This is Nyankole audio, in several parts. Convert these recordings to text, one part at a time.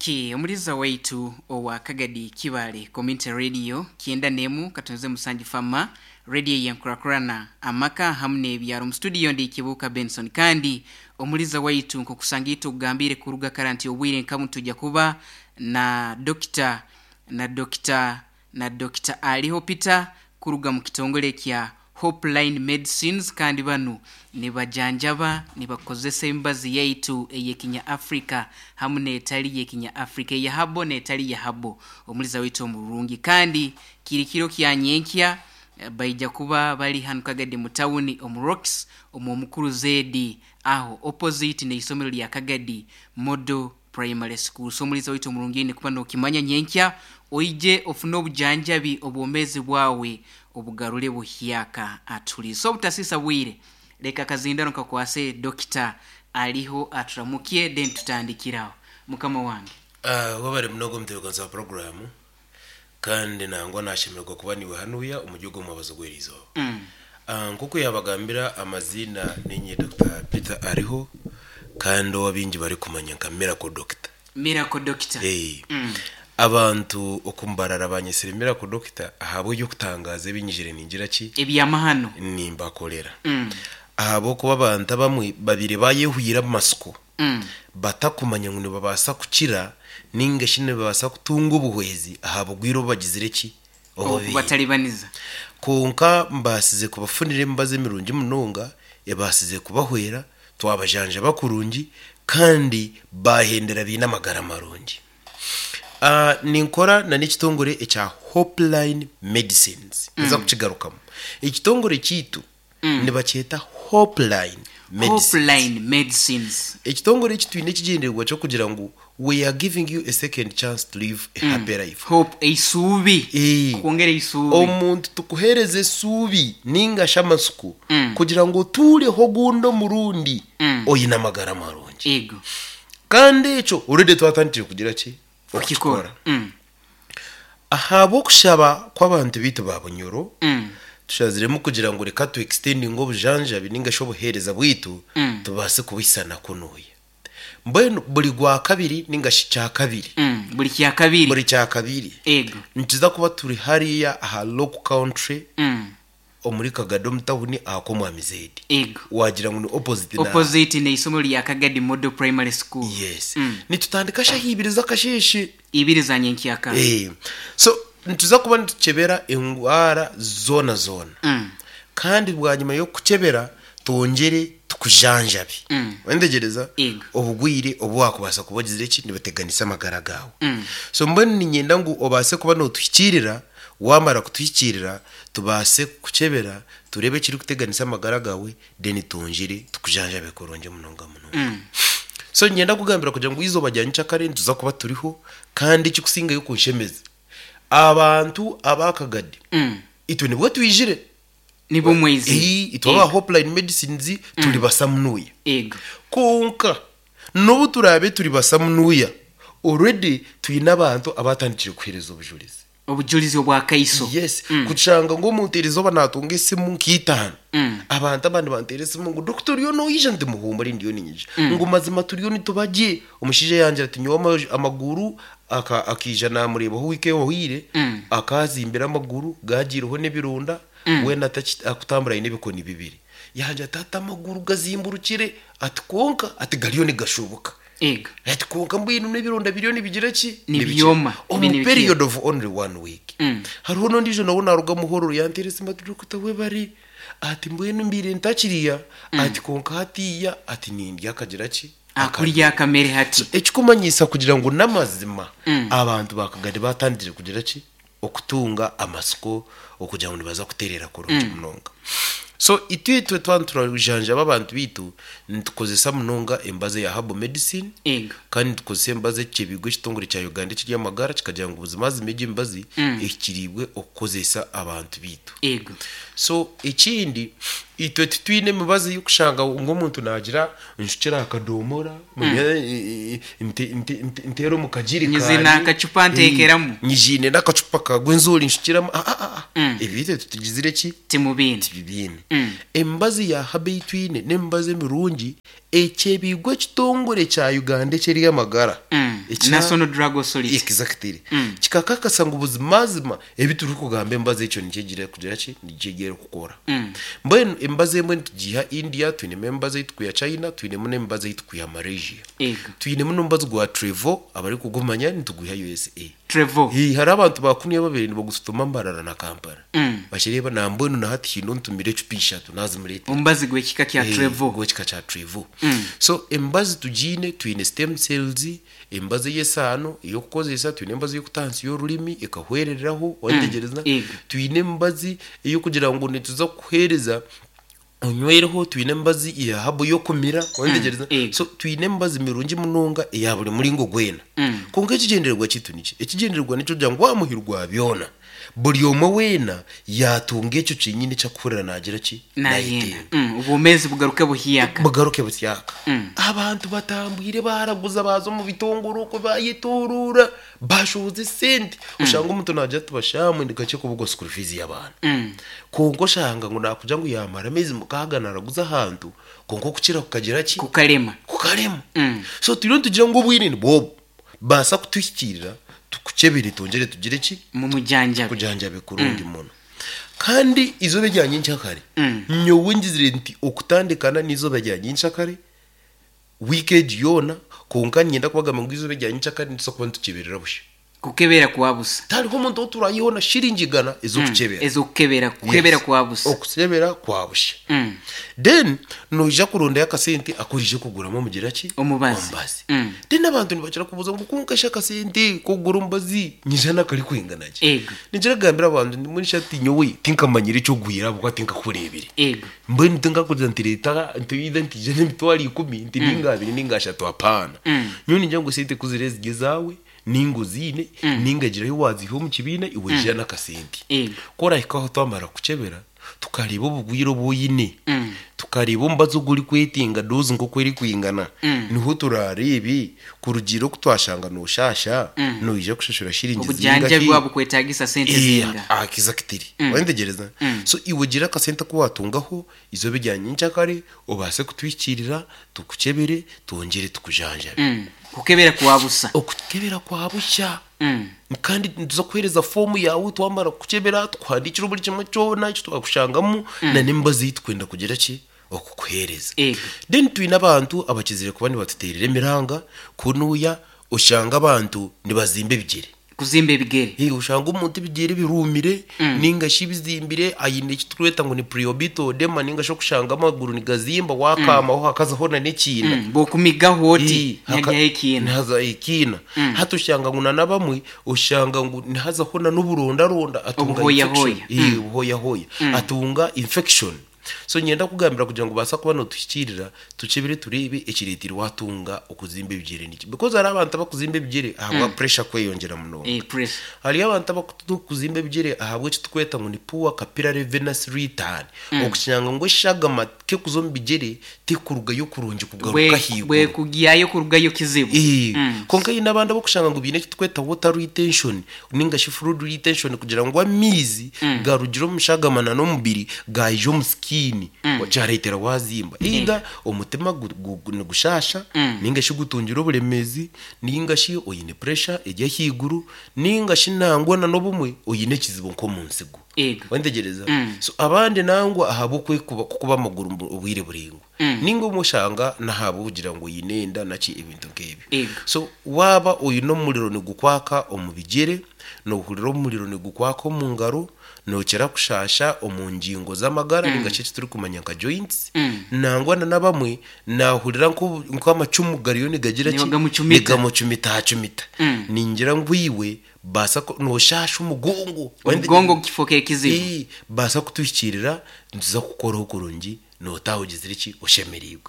Okay, omuliza waitu owa Kagadi Kibale Community Radio 91 katonze musanju fama radio yenkurakurana amaka hamu n'ebyaro. Mu studio ndi Kibuuka Benson, kandi omuliza waitu nkokusanga itwe okugambire kuruga kara nti obwire nkamu tujja kuba na dokita na dokita na Dokita Aliho Peter kuruga mu kitongole kya Hopeline Medicines, kandi banu nibajanjaba nibakozesa emibazi yaitu ey'ekinya Africa hamu n'etali y'ekinya Africa, eya habo n'etali ya habo. Omuliza waitu omurungi, kandi kiri kiro kya nyenkya baija kuba bali hanu Kagadi mu tawuni omu Rocks omu Omukuru Zedi aho opposite n'eisomero lya Kagadi Model Primary School. So omuliza waitu omurungi oine kuba nokimanya nyenkya oije ofune obujanjabi obwomezi bwawe obugarure buhyaka aturi. So obutasisa bwire leka akazindaro nkakwase Dokita ariho aturamukye then tutandikire aho. Mukama wange. Webare munonga omutebekanisa wa puroguraamu kandi nangwa nashemererwa kuba niiwe hanuya omuri ogu omwabazo gw'erizooba. Nk'oku yaabagambira amaziina niinye Dokita Peter Ariho kandi ou abaingi barikumanya nka Miracle Doctor. Miracle Doctor. Abantu oku Mbarara banyetsire Miracle Doctor ahabw'eby'okutangaaza ebi nyijire ningira ki? Ebyamahano. Nimbakorera. Ahabw'okuba abantu abamwe babaire bayehwire amatsiko batakumanya ngu nibabaasa kukira ninga shi nibabaasa kutunga obuhwezi aha bugwire obu bagizire ki? Obubaire. Okubatalibaniza. Kwonka mbaasize kubafunira emibazi emirungi munonga ebaasize kubahwera, twabajanjaba kurungi kandi baahendera baine amagara marungi. Ninkora na n'ekitongore ekya Hopeline Medicines. Ninza kukigarukamu. Ekitongore kyaitu nibakyeta Hopeline Medicines. Hopeline Medicines. Ekitongore eki twine ekigyendererwa ky'okugira ngu we are giving you a second chance to live a happy life. Hope, eisuubi. Kukwongera eisuubi. Omuntu tukuheereza esuubi ninga shi amatsiko kugira ngu otuureho ogundi omurundi oine amagara marungi. Ego. Kandi ekyo already twatandikire kugira ki? Okukikora. Ahabw'okushaba kw'abantu baitu ba Bunyoro, tushaziremu kugira ngu reka tu extendinge obujanjabi ninga shi obuheereza bwaitu tubaase kubuhisana kunuya. Mbwenu buri Gwakabiri ninga shi Kyakabiri, Buri Kyakabiri. Buri Kyakabiri, Ego. nituza kuba turi hariya aha Lock Country omuri Kagadi omu tawuni aha kw'Omwami Zaid. Ego. Waagira ngu ni opposite na. Opposite n'eisomero rya Kagadi Model Primary School. Yes. Nitutandika shaaha ibiri z'akasheeshe. Ibiri za nyenkyakara. So, nituza kuba nitukyebera endwara zoona zoona. Kandi bwanyima y'okukukyebera, twongyere tukujanjabe. Wentegyereza? Ego. Obugwire obu waakubaasa kuba ogizire ki? Nibuteganisa amagara gaawe. So mbwenu niinyenda ngu obaase kuba nootuhikiirira, waamara kutuhikiirira, tubaase kukukyebera, tureebe ekirikuteganisa amagara gaawe, then twongyere tukujanjabe kurungi munonga munonga. So niinyenda kukugambira kugira ngu eizooba rya nyenkyakare nituza kuba turiho, kandi ekirikusingayo kunshemeza, abantu aba Kagadi, itwe nibwo twijire. Nibwo mwaizire. Ii, itwe aba Hopeline Medicines turi basamunuya. Ego. Kwonka n'obu turaabe turi basamunuya, already twine abantu abaatandikire kuheereza obujurizi. Obujurizi obwa kaiso. Yes, kushanga ngu omuntu erizooba naatunga esimu nk'itaano. Abantu abandi banteera esimu ngu doctor oriyo noija? Nti muhuumure ndiyo niinyija. Ngu mazima turiyo nituba gye. Omushaija yangira ati nyowe amaguru akaija naamureebaho wiiki ehweire, akaazimbire amaguru gaagiireho n'ebironda, weena atakutambura aine ebikoni bibiri. Yangira ati hati amaguru gazimburukire, ati kwonka ati gariyo nigashuubuka. Ego. Ati kwonka mbwenu n'ebironda biriyo nibigira ki? Nibyoma. Omu Bine bikira. period of only one week. Hariho n'ondiijo nawe naaruga Muhororo yanteera esimu ati Dokita webare, ati mbwenu mbaire ntakiriya, ati kwonka hatiiya ati nindya akagira ki? Akurya akamere hati. So ekikumanyisa kugira ngu n'amazima abantu ba Kagadi baatandikire kugira ki? Okutunga amatsiko okugira ngu nibaza kutereera kurungi munonga. So itwe itwe twaba niturajanjaba abantu baitu, nitukozesa munonga emibazi eya herbal medicine Ego. kandi nitukozesa emibazi ekyebiirwe ekitongore kya Uganda eky'eby'amagara kikagira ngu buzimazima egi emibazi ehikiriibwe okukozesa abantu baitu. Ego. So ekindi itwe titwine emibazi ey'okushanga ngu omuntu naagira Nshukire aha kadoomora, nteere omu kagirikaani. Nyiziine akacupa nteekeramu. Nyiziine n'akacupa ka Rwenzori nshukiremu. Aa-aa-aa. Ebyo itwe titugizire ki? Timubiine. Tibibiine. Emibazi ya herbal ei twine n'emibazi emirungi Ekyebiigwa ekitongore kya Uganda eky'eby'amagara ekya National Drug Authority. Exactly. Kikakakasa ngu buzimazima ebi turikugamba emibazi ekyo nikyo egira kugira ki? Nikyo egira kukora. Mbwenu emibazi emwe nitugiiha India, twinemu emibazi ei turikwiha China, twinemu n'emibazi ei turikwiha Malaysia. Ego. Twinemu n'omubazi gwa Trevo abarikugumanya nitugwiha USA. Trevo. Hii, hariho abantu ba kunu ababaire nibagututuma Mbarara na Kampala. Bakireeba nambwenu na hati haine ontumire ecupa ishatu nazimureetera. Omubazi gw'ekika kya Trevo. Gw'ekika kya Trevo. So emibazi tugiine, twine stem cells, emibazi ey'esaano ey'okukozesa, twine emibazi ey'okuta ahansi y'orurimi ekahwerereraho, wayetegyereza? Ego. Twine emibazi ey'okugira ngu nituza kukuheereza onywereho, twine emibazi ya habu y'okumira, wayetegyereza? Ego. So twine emibazi mirungi munonga eya buri muringo gwena. Kwonka ekigyendererwa kyaitu niki? Ekigyendererwa nikyo kugira ngu wa muhiri gwa byona, buri omwe weena yaatunga ekyo kyenyini eki arikuhurira naagira ki? Nayenda. Naayetenga. Obwomeezi bugaruke buhyaka. Bugaruke busyaka. Abantu batambwire baaraguza baaza omu bitongore okwo baayetooroora, baashohoza esente. Oshanga omuntu naagira ati bashaamwe ndi kakye kubugwa school fees y'abaana. Kwonka oshanga ngu naakugira ngu yaamara ameezi mukaaga naaraguza ahantu, kwonka okukira kukagira ki? Kukarema. Kukarema. So turiyo nitugira ngu obwire nibwo obu, baasa kutuhikiirira tukukyebere twongyere tugire ki? Mumujanjabe. Tukujanjabe kurungi muno. Kandi eizooba erya nyenkyakare, nyowe ngizire nti okutandikana n'eizooba rya nyenkyakare, wiiki egi yoona, kwonka niinyenda kubagambira ngu eizooba erya nyenkyakare nituza kuba nitukyeberera busha. Kukebera kwa busa. Tihariho omuntu ou turaiheho na shiringi igana ez'okukyebera. Ez'okukebera, kukebera kwa busa. Okukyebera kwa busha. Then noija kurondayo akasente aku oraije kuguramu omugira ki? Omubazi. Omubazi. Then abantu nibakira kubuuza ngu kwonka shi akasente k'okugura omubazi nyija nakarikwingana ki? Ego. Ninkira kugambira abantu nti mbwenu shi hati nyowe tinkamanyire eki ogwire ahabw'okuba tinkakureebire. Ego. Mbwenu tinkakugira nti reeta nti either nti ija n'emitwaro ikumi nti ninga abiri ninga ashatu apaana. Nyowe ningira ngu esente ku ziriba ziri ezaawe, Nainga oziine, nainga gira ahi waaziiha omu kibiina, iwe ija n'akasente. Ku orahika aho twamara kukukyebera, tukareeba obugwire obu oine, tukareeba omubazi ogu orikwetenga doozi nk'oku erikwingana, niho turaareebe kurugiirira oku twashanga nooshaasha, noija kushashura shiringi Obujanjabi zingahi. bwaba bukwetaagisa sente zinga. Exactly. Wayetegyereza? So iwe gira akasente aku waatungaho, eizooba erya nyenkyakare obaase kutuhikiirira, tukukyebere, twongyere tukujanjabe. Kukebera kwa busa. Okukebera kwa busha. Kandi nituza kukuheereza foomu yaawe twamara kukukyebera, tukuhandiikire buri kimwe kyona eki twakushangamu na n'emibazi ei turikwenda kugira ki? Okukuheereza. Ego. Then twine abantu abakizire kuba nibatuteerera emiranga kunuya oshanga abantu nibazimba ebigyere. Kuzimba ebigere. Hee oshanga omuntu ebigyere biruumire ninga shi bizimbire aine eki turikweta ngu ni preorbital edema ninga shi okushanga amaguru nigazimba waakaamaho hakazaho na n'ekiina. Bw'okumigaho oti nihajaho ekiina. Nihazaho ekiina. Hati oshanga ngu na n'abamwe oshanga ngu nihazaho na n'oburondaronda atunga Obuhooyahooya. infection. Hee obuhooyahooya. Atunga infection. So niinyenda kukugambira kugira ngu obaase kuba nootuhikiirira, tukyebere tureebe ekireeteire waatunga okuzimba ebigyere niki. Because hariho abantu abakuzimba ebigyere ahabwa pressure kweyongyera munonga. Eh, pressure. Hariyo abantu abakuzimba ebigyere ahabw'eki turikweta ngu ni poor capillary venous return. Okushanga ngu eshagama terikuza omu bigyere terikurugayo kurungi kugaruka ahaiguru. Bwekugyayo kurugayo kizibu. Ee, kwonka haine abandi abokushanga ngu baine eki turikweta water retention ninga shi fluid retention kugira ngu amaizi garugire omu shagama na n'omubiri gaija omu skin kyareetera waazimba. Either omutima nigushasha ninga shi gutungire oburemeezi ninga shi oine pressure eri ahaiguru ninga shi nangwa na n'obumwe oine ekizibu nk'omu nsigo. Ego. Wayetegyereza? So abandi nangwa ahabw'okwekuba kukuba amaguru obwire buraingwa. Ninga obumwe oshanga n'ahabw'okugira ngu oine enda naki ebintu nk'ebyo. Ego. So waaba oine omuriro nigukwaka omu bigyere, noohurira omuriro nigukwaka omu ngaro, nookira kushaasha omu ngingo z'amagara ninga shi eki turikumanya nka joints, nangwa na n'abamwe naahurira nk'amacumu gariyo nigagira ki? Nigamucumita. Nigamucumitacumita. Ningira ngu iwe baasa ku, nooshaasha omugongo. Omugongo gukifoka ekizibu. Ee, baasa kutuhikiirira nituza kukukoraho kurungi Nootaaha ogizire ki? Oshemereirwe.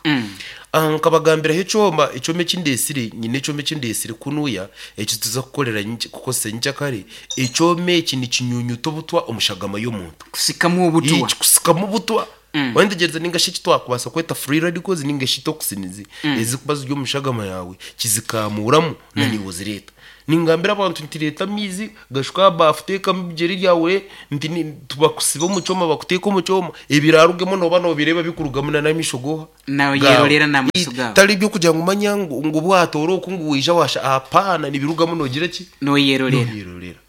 Nkabagambiraho ekyoma, ekyoma eki ndeetsire, nyine ekyoma eki ndeetsire kunuya, eki tuza kukorera nyenky kukozesa nyenkyakare. Ekyoma eki nikinyunyuta obutwa omu shagama y'omuntu. Kusikamu obutwa. Ee, kikusikamu obutwa. Waayetegyereza nainga shi eki twakubaasa kweta free radicals nainga shi toxins ezirikuba ziri omu shagama yaawe, kizikamuuramu na naiwe ozireeta. Ningambira abantu nti reeta amaizi gashuke aha baafu teekamu ebigyere byawe nti ni- bakusibe omu kyoma bakuteeke omu kyoma ebiraarugemu nooba noobireeba bikurugamu na n'amaisho gooha Nooyerorera n'amaisho gaawe. Tari eby'okugira ngu manya ngu ngu obu waatoora oku ngu waija waasha apaana nibirugamu noogira ki? Nooyerorera. Nooyerorera.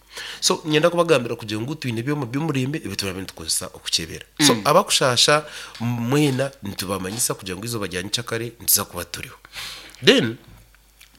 So niinyenda kubagambira kugira ngu twine ebyoma by'omurembe ebi turaabe nitukozesa okukyebera. So abakushaasha mwena nitubamanyisa kugira ngu eizooba rya nyekyakare nituza kuba turiho. Then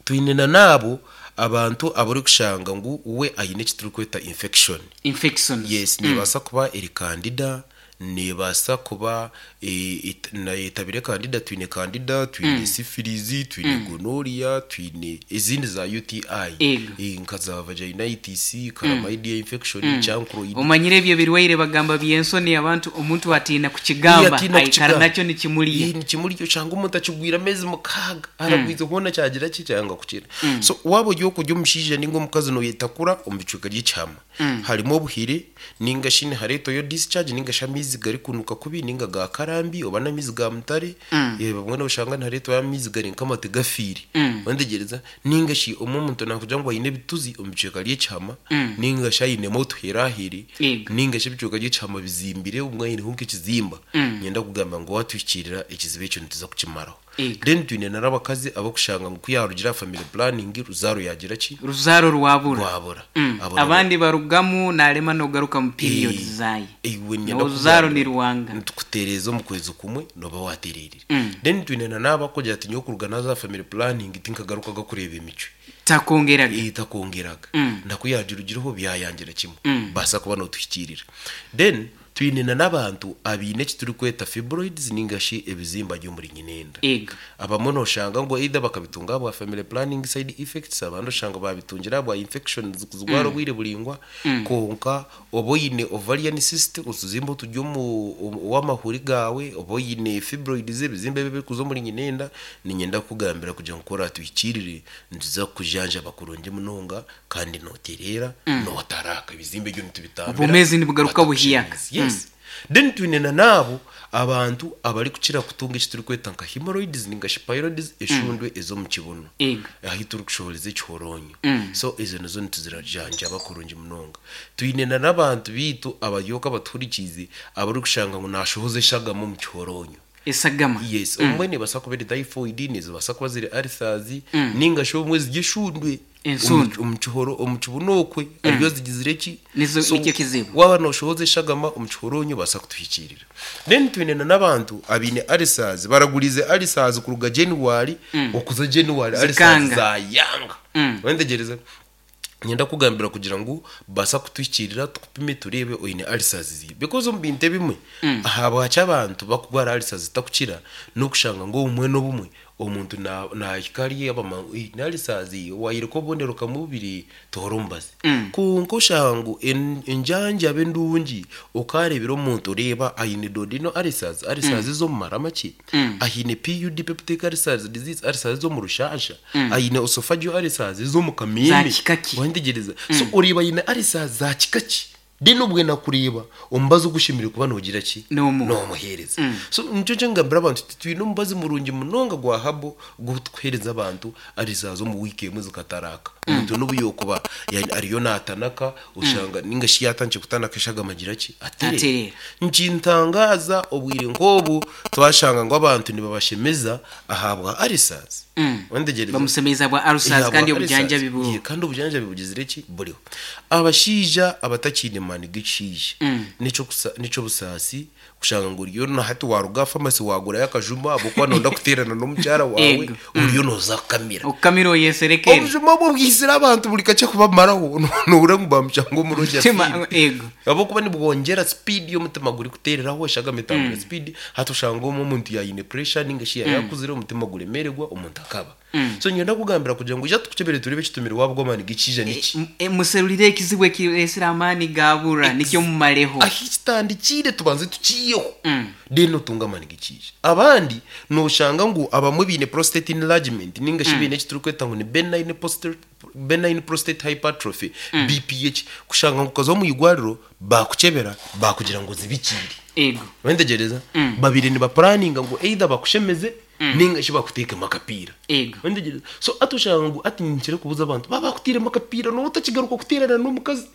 twine na n'abo abantu abu orikushanga ngu we aine eki turikweta infection. Infections. Yes, neebaasa kuba eri candida, neebaasa kuba etabire candida, twine candida, twine syphilis, twine gonorrhea, twine ezindi za UTI Ego. nka za vaginitis, chlamydia infection, chancroid. Omanyire ebyo ebirwaire bagamba by'ensoni abantu omuntu atiina kukigamba Atiina aikara kukigamba. nakyo nikimurya. Nikimurya oshanga omuntu akigwire ameezi mukaaga aragwize hoona kyagira ki kyanga kukira. So waaba ori okurya omushaija ninga omukazi noyetakura omu bicweka by'ekihama harimu obuhire ninga shi nihareetwayo discharge ninga shi amaizi garikunuka kubi ninga ga karambi oba n'amaizi ga mutare bamwe noshanga nihareetwayo amaizi gari nk'amate gafiire wantegereza ninga shi omwe omuntu nakugira ngu aine ebituzi omu bicweka by'ekihama ninga shi ainemu otuherahere Yego. ninga shi ebicweka by'ekihama bizimbire obumwe aineho nk'ekizimba niinyenda kugamba ngu waatuhikiirira ekizibu ekyo nituza kukimaraho. Yego. Then twine n'abakazi ab'okushanga ngu ku yaarugire aha family planning ruzaaro yaagira ki? Ruzaaro rwabura. Rwabura. Abo nabo Abandi barugamu narema n'ogaruka mu periods zaaye. Iwe niinyenda Oruzaaro kugambira nirwanga. nitukutereeza omu kwezi kumwe nooba waatereerire. Then twine na n'abakugira ati nyowe kuruga naaza aha family planning tinkagarukaga kureeba emicwe. Takongeraga. Ee, takongeraga. Na ku yaagirugireho byayangira kimwe. Baasa kuba nootuhikiirira. Then twine na n'abantu abaine eki turikweta fibroids ninga shi ebizimba by'omuri nyinenda. Ego. Abamwe noshanga ngu either bakabitunga ahabwa family planning side effects abandi oshanga babitungira ahabwa infections kuzirwara obwire buraingwa kwonka oba oine ovarian cyst otuzimba oturi omu ow'amahuri gaawe oba oine fibroids ebizimba ebi ebirikuza omuri nyinenda niinyenda kukugambira kugira ngu ku oratuhikiirire nituza kukujanjaba kurungi munonga kandi nootereera nootaraaka ebizimba ebyo nitubitambira Obwomeezi nibugaruka buhiyaka. batakushemeza. Yes. Then twine na n'abo abantu abarikukira kutunga eki turikweta nka hemorrhoids ninga shi pyrrhoids eshundwe ez'omu kibuno Ego. ahu turikushohoreza ekihoronyo. So ezo nazo nituzirajanjaba kurungi munonga. Twine na n'abantu baitu abaryoka abatuhurikiize abarikushanga ngu naashohoza eshagama omu kihoronyo. Esagama. Yes, obumwe neebaasa kuba eri typhoid, nizibaasa kuba ziri ulcers, ninga shi obumwe ziri eshundwe Ensundwe. omu kihoro omu kibuno okwe ariyo zigizire ki? Nizo So, nikyo kizibu. waaba nooshohoza eshagama omu kihoronyo obaasa kutuhikiirira. Then twine na n'abantu abaine ulcers, baragurize ulcers kuruga January okuza January ulcers Zikanga. zaayanga. Wantegereza? Niinyenda kukugambira kugira ngu baasa kutuhikiirira tukupime tureebe oine ulcers ziiha. Because omu bintu ebimwe, ahabwaki abantu bakurwara ulcers zitakukira, n'okushanga ngu obumwe n'obumwe omuntu naahika ari abamanya ngu ni ulcers, waayereka obubonero kamwe bubiri toora omubazi. Kwonka oshanga ngu enjanjaba endungi okaareebera omuntu oreeba aine duodenal ulcers, ulcers ez'omu mara makye, aine PUD, peptic ulcers disease, ulcers ez'omu rushaasha, aine esophageal ulcers ez'omu Za kameeme. kika ki? Wantegereza? So oreeba aine ulcers za kika ki? Then obwe nakureeba omubazi ogushemereire kuba noogira ki? Noomuha. Noomuheereza. So nikyo kyengambira abantu nti twine omubazi murungi munonga gwa herbal ogu tukuheereza abantu ulcers omu wiiki emwe zikataraaka. Omuntu n'obu yookuba ariyo naatanaka oshanga ninga shi yaatandikire kutanaka eshagama agira ki? Atereera. Atereera. Nikintangaaza obwire nk'obu twashanga ngu abantu nibabashemeza ahabwa ulcers. Wantegereza? Bamusemeza bwa ulcers Ahabwa kandi ulcers. obujanjabi buriho. Ye, kandi obujanjabi bugizire ki? Buriho. Abashaija abatakiine maani g'ekishaija n'eky'obusaasi kushanga ngu oriyo na hati waaruga aha famasi waagurayo akajuma ahabw'okuba nooyenda kuteerana n'omukyara waawe Ego. oriyo nooza kukamira. Okukamira oyeserekere. Obujuma obwo bwizire abantu buri kakye kubamaraho noohurira ngu baamushanga omurungi Mutima, afiire. ego. Ahabw'okuba nibwongyera speed y'omutima gurikuteereraho eshagama etambura speed hati oshanga omwe omuntu yaayine pressure ninga shi yaayakuzire omutima guremeererwa omuntu akaba. So niinyenda kukugambira kugira ngu ija tukukyebere tureebe ekitumire waabugwa amaani g'ekiija niki. Muserurire ekizibu ekireetsire amaani gaabura nikyo mumareho. Ahi kitandikiire tubanze tukiiheho then otunge amaani g'ekiija. Abandi nooshanga ngu abamwe baine prostate enlargement ninga shi baine eki turikweta ngu ni benign prostate, benign prostate hypertrophy, BPH, kushanga ngu okaza omu irwariro baakukyebera baakugira ngu ozibikiire. Ego. Wantegereza? Babaire nibapuraninga ngu either bakushemeze. Ninga shi bakuteekemu akapiira. Ego. Ontegereza. So hati oshanga ngu hati ninkira kubuuza abantu, baaba bakutairemu akapiira nooba otakigaruka kuteerana n'omukazi?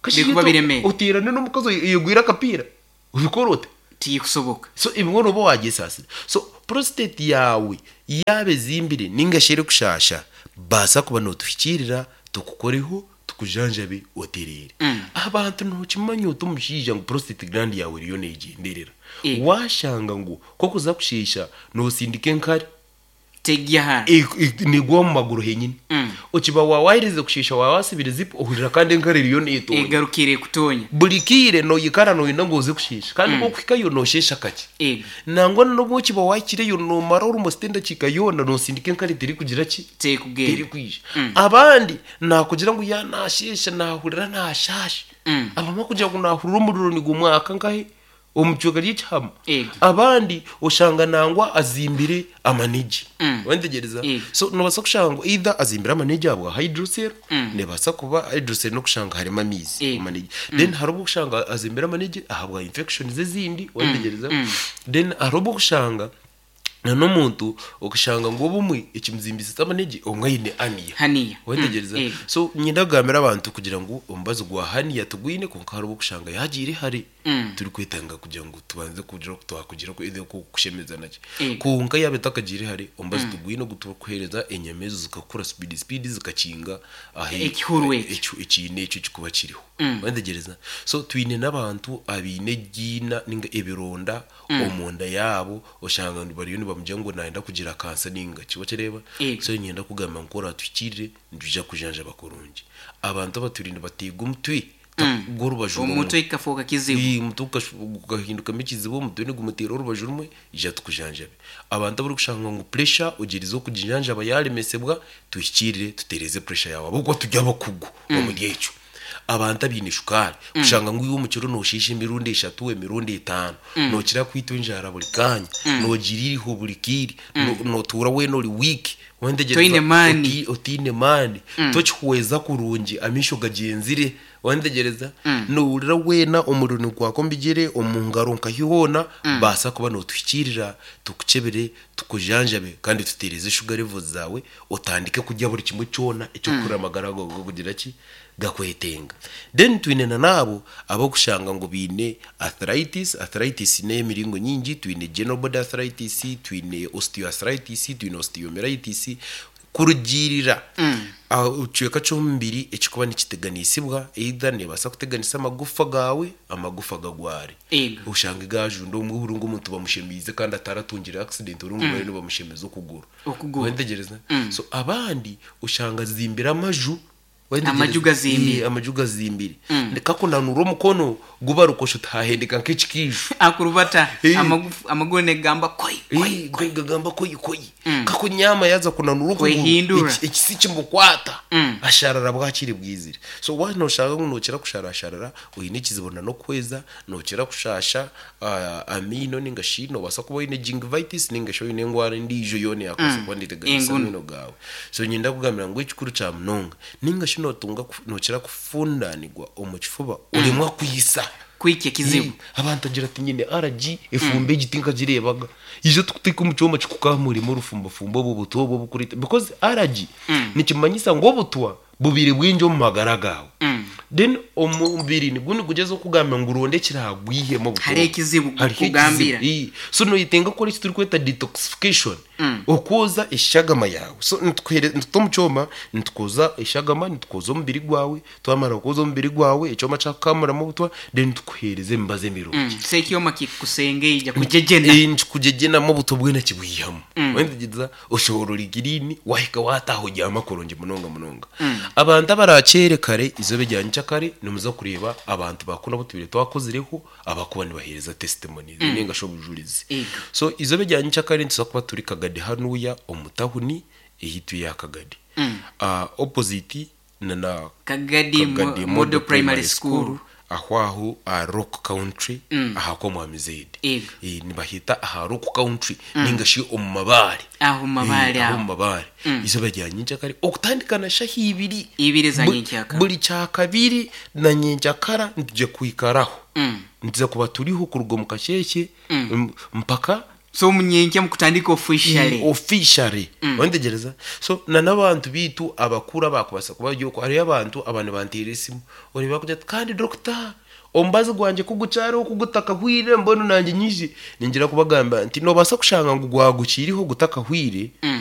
Birikuba biremere. Oteerane n'omukazi oyegwire akapiira? Obikora ota? Tikusoboka. So ebimwe nooba waagyesaasira. So prostate yaawe yaaba ezimbire ninga shi erikushaasha, baasa kuba nootuhikiirira tukukoreho tukujanjabe otereere. Abantu nookimanya ota omushaija ngu prostate gland yaawe eriyo neegyenderera? Waashanga ngu ku orikuza kusheesha noosindika enkari. Tegya hara. Negwa omu maguru henyini. Okiba waaherize kusheesha waaba wasibire zipu ohurira kandi enkari eriyo neetonya. Egarukire ekutonya. Buri kaire noikara nooyenda ngu oze kusheesha kandi ku orikuhikayo noosheesha kakye. Nangwa n'obu okiba waahikireyo noomara almost endakiika yoona noosindika enkari terikugira ki? Terikugenda. Terikwija. Abandi naakugira ngu yaaba naasheesha naahurira naashaasha. Abamwe kugira ngu naahurira omuriro nigumwaka nkahe? Omu kicweka ry'ekihama. Ego. Abandi oshanga nangwa azimbire amanigi. Wantegyereza? Ego. So nobaasa kushanga ngu either azimbire amanigi ahabwa hydrocele, nebaasa kuba hydrocele n'okushanga harimu amaizi Ego. omu manigi. Then hariho obu okushanga azimbire amanigi ahabwa infections ezindi, wantegyereza? Then hariho obu okushanga na n'omuntu okashanga ngu obumwe ekimuzimbisize amanegi obumwe aine hernia. Hernia. Wetegyereza? Mm, So niinyenda kugambira abantu kugira ngu omubazi gwa hernia tigwine kwonka hariho obu orikushanga yaagiire hare turikwetanga kugira ngu tubanze kugira oku twakugira either kukushemeza naki. Kwonka yaaba etakagiire hare omubazi tigwine ogu turikuheereza enyama ezo zikakura speed speed zikakinga ahi Ekihuru ekyo. ekiina ekyo ekirikuba kiriho. Wetegyereza? So twine n'abantu abaine egiina ninga ebironda omunda yaabo oshanga ngu bariyo nibamugira ngu nayenda kugira kansa ninga ki wakireeba? Yego. So niinyenda kugamba ngu ku oratuhikiirire nitwija kukujanjaba kurungi. Abantu abatwire nibateega omutwe gw'orubaju rumwe. Omutwe gukafooka kizibu. Ii, omutwe gukahindukamo ekizibu, omutwe nigumuteera orubaju rumwe, ija tukujanjabe. Abantu abarikushanga ngu pressure ogyerize okugijanjaba yaremesibwa, tuhikiirire tutereeze pressure yaawe ahabw'okuba turi abakugu omuri ekyo. Abantu abaine shukaari, kushanga ngu iwe omu kiro noosheesha emirundi eshatu, emirundi etaano, nookira kwitwa enjara buri kaanya, noogira eiriho buri kaire, nootuura weena ori wiiki, Toine maani. Otaine maani, tokihweza kurungi, amaisho gagyenzire, wantegyereza? Noohurira weena omuriro nigwaka omu bigyere, omu ngaro nkahi hoona, baasa kuba nootuhikiirira tukukyebere, tukujanjabe kandi tuteereze shuga levels zaawe, otandike kurya buri kimwe kyona ekirikuhurira amagara gaawe gakugira ki? Gakwetenga. Then twine na n'abo ab'okushanga ngu baine arthritis, arthritis n'ey'emiringo nyingi, twine general body arthritis, twine osteoarthritis, twine osteomyelitis, kurugiirira aha kicweka ky'omubiri ekirikuba nikiteganisibwa, either neebaasa kuteganisa amagufa gaawe, amagufa gagware. Ego. Oshange gaajunda obumwe ohurire ngu omuntu bamushemeize kandi ataratungire accident orungu bariyo nibamushemeza okuguru. Okuguru. Wayetegereza? So abandi oshanga azimbire amaju. Amaju gazimbire. Ee, amaju gazimbire. Kakunanura omukono gubarukosha oti hahendeka nk'ekikiijo. Akurubata Ee. amagufu amaguru nigamba koi koi. Ee, koi gagamba koi koi. Kakunyaama yaaza kunanura okuguru Kwehindura. ekisi kimukwata asharara bwakire bwizire. So waaba noshanga ngu nokira kusharasharara oine ekizibu na n'okuhweza, nokira kushasha amaino ninga shi nobaasa kuba oine gingivitis ninga shi oine endwara endiijo yoona eyakubaasa kuba neeteganisa Engunu. amaino gaawe. So niinyenda kukugambira ngu ekikuru kya munonga ninga shi nootunga nookira kufundaanirwa omu kifuba oremwa kwitsa. Kwikya ekizibu. Ii, Abantu agira ati nyine allergy efumba egi tinkagireebaga. Ija tukuteeke omu kyoma kikukaamuremu orufumbafumba obwo obutwa obwo obukureeta because allergy nikimanyisa ngu obutwa bubaire bwingi omu magara gaawe. Then omubiri nigwo nigugyezaho kukugambira ngu ronda ekiraagwihemu obutwa Hariho obwo. ekizibu Hariho kukugambira. ekizibu. Ii. So noyetenga kukora eki turikweta detoxification, okwoza eshagama yaawe. So nitukuhere nituta omu kyoma, nitukwoza eshagama, nitukwoza omubiri gwawe, twamara kwoza omubiri gwawe, ekyoma kyakukamuramu obutwa, then tukuheereza emibazi emirungi. So ekyoma kikusengeija kugyegyena. Ii, nikikugyegenamu obutwa bwena kibwihamu. Wayetegereza? Oshohora ori clean, wahika waataaha obyama kurungi munonga munonga. Abantu abaraakyere kare eizooba erya nyenkyakare nimuza kureeba abantu ba kunu abu tubaire twakozireho abarikuba nibaheereza testimonies ninga shi obujurizi. Ego. So eizooba erya nyenkyakare nituza kuba turi Kagadi hanuya omu tawuni eyaitu eya Kagadi. Opposite na na Kagadi Kagadi Model Primary School. Aho aho aha Rock Country aha kw'Omwami Zaid. Ego. Eh, nibaheeta aha Rock Country ninga shi omu mabaare. Aho omu mabaare Eh, aho aho. omu mabaare. Eizooba rya nyenkyakare okutandika na shaha ibiri. Ibiri za nyenkyakara. Buri kyakabiri na nyenkyakara nituja kwikaraho. Nituza kuba turiho kuruga omu kasheeshe mpaka. So omunyenkya mukutandika officially. Officially. Ontegereza. So na n'abantu biitu abakuru abakubasa kuba bari okwo, hariyo abantu aba nibanteera esimu oreeba akugira ati kandi doctor omubazi gwangye ku gukyariho ku gutakahwire mbwenu nangye nyije. Ningira kubagambira nti nobaasa kushanga ngu gwagukiriho gutakahwire.